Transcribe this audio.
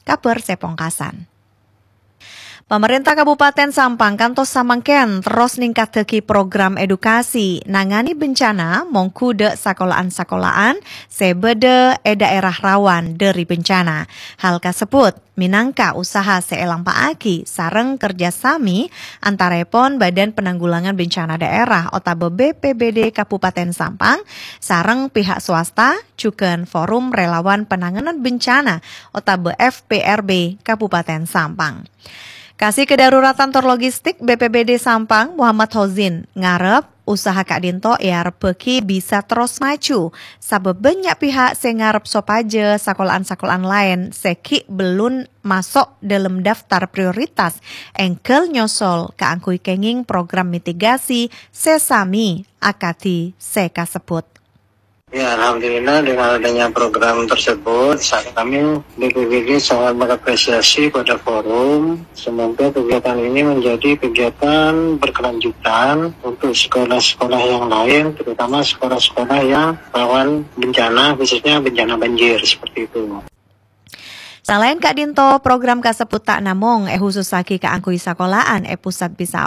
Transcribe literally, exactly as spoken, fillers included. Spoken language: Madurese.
Kabhâr sè pongkasan. Pamarènta Kabupaten Sampang kantos samangkèn terros ningkaddhâghi program edukasi nangani bencana mongghu dâ' sakola'an-sakola'an sè bâdâ è dhaèra rawan dhâri bencana. Hal kasebbhut mènangka usaha sè èlampa'aghi sareng kerjasami antarèpon Badan Penanggulangan Bencana Daerah otabâ B P B D Kabupaten Sampang sareng pihak swasta, jhughân Forum Relawan Penanganan Bencana otabâ F P R B Kabupaten Sampang. Kasi Kedaruratan tor Logistik B P B D Sampang, Muhammad Hozin, ngarep usaha ka'dinto èarebbhâghi bisa terros maju, sabâb bânnya' pihak sè ngarep sopajâ sakola'an-sakola'an laèn sè ghi' bellun maso' dâlem daftar prioritas èngghâl nyosol kaangghuy kèngèng program mitigasi sè sami akadhi sè kasebbhut. Ya, alhamdulillah dengan adanya program tersebut, saat kami B P B D sangat mengapresiasi pada forum. Semoga kegiatan ini menjadi kegiatan berkelanjutan untuk sekolah-sekolah yang lain, terutama sekolah-sekolah yang rawan bencana, khususnya bencana banjir seperti itu. Salaèn ka'dinto, program kasebbhut ta' namong èhusussaghi kaangghuy sakola'an è pusat bisa